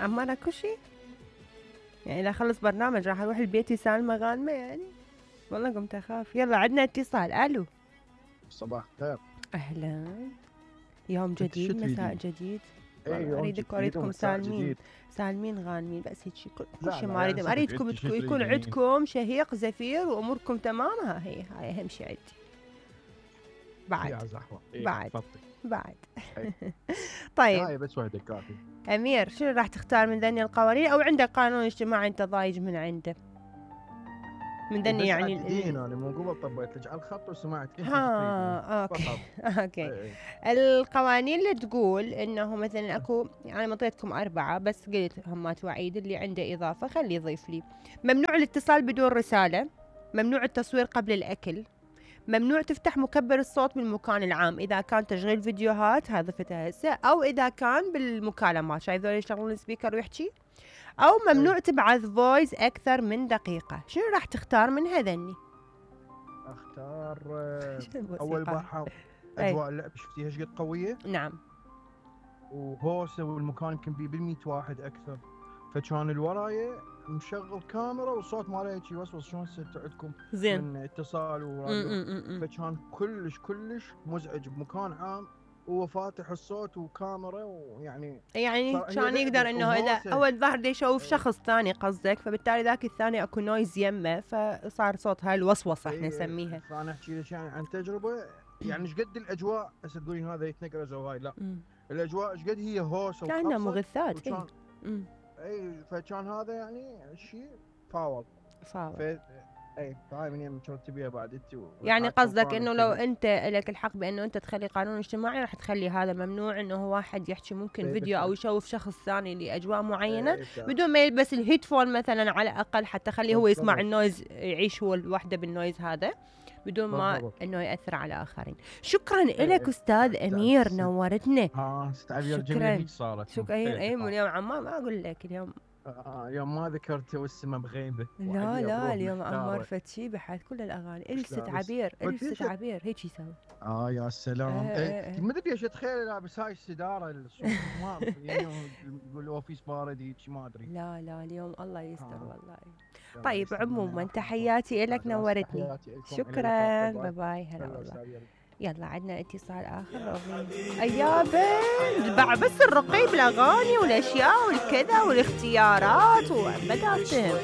عمار اكو شي يعني اذا خلص برنامج راح اروح البيت يسالمه غانمه يعني. والله قمت اخاف. يلا عندنا اتصال. الو صباح الخير. اهلا. يوم جديد مساء جديد. والله اريدكم سالمين سالمين غانمين بس هيك كل شيء ما يعني اريدكم يكون عندكم شهيق زفير واموركم تمام. هاي اهم شيء عندي. بعد طيب هاي بس وحده كافي. امير شنو راح تختار من ذني القوانين او عندك قانون اجتماعي انت ضايج من عنده من ذني يعني انا مو قبل طبيت لك على الخط وسمعت اوكي. القوانين اللي تقول انه مثلا اكو يعني منطيتكم 4 بس قلت همات وعيد اللي عنده اضافه خليه يضيف لي. ممنوع الاتصال بدون رساله، ممنوع التصوير قبل الاكل، ممنوع تفتح مكبر الصوت بالمكان العام اذا كان تشغيل فيديوهات هذا فتها هسه او اذا كان بالمكالمات شايف ذول يشغلون السبيكر ويحكي، او ممنوع تبعث فويس اكثر من دقيقه. شنو راح تختار من هذني؟ اختار اول بارحه اجواء اللعب شفتيها ايش قد قويه. نعم وهوسه والمكان يمكن بيه بال100 واحد اكثر، فكان الورايه مشغل كاميرا والصوت ماله هيك يوسوس شلون عندكم زين من اتصال وراديو، فكان كلش مزعج بمكان عام وهو فاتح الصوت وكاميرا ويعني كان يقدر انه اذا اول ظهر يشوف شخص ثاني قصدك، فبالتالي ذاك الثاني اكو نويز يمه فصار صوت هاي الوسوسه احنا نسميها. فانا احكي لك يعني عن تجربه يعني ايش قد الاجواء هسه تقولين هذا يتنقرز وهاي لا الاجواء ايش قد هي هوسه كانها مغثات اي فكان هذا يعني شيء فاول اي هاي من يم شلون تبيها بعد انت يعني قصدك انه لو انت لك الحق بانه انت تخلي قانون اجتماعي راح تخلي هذا ممنوع انه واحد يحكي ممكن فيديو او يشوف شخص ثاني لاجواء معينه بدون ما يلبس الهيدفون مثلا على الاقل حتى خليه هو يسمع النويز يعيش هو لوحده بالنويز هذا بدون ما انه ياثر على اخرين. شكرا لك استاذ امير نورتنا. استعبير جميل صارت شكرا. اي من اليوم عمار ما اقول لك اليوم يوم ما ذكرت والسما بغيبه. لا اليوم عمار فتشي بحث كل الاغاني الست عبير هيك يسوي. يا سلام. ما ادري ايش اتخيل لابس هاي السداره ما يقول اوفيس بارد هيك ما ادري. لا اليوم الله يستر والله. طيب عموما تحياتي لك نورتني. شكرا باي باي. هلا والله. يلا عندنا اتصال اخر. يا بنت باع بس الرقي بالاغاني والاشياء والكذا والاختيارات وبداتهم.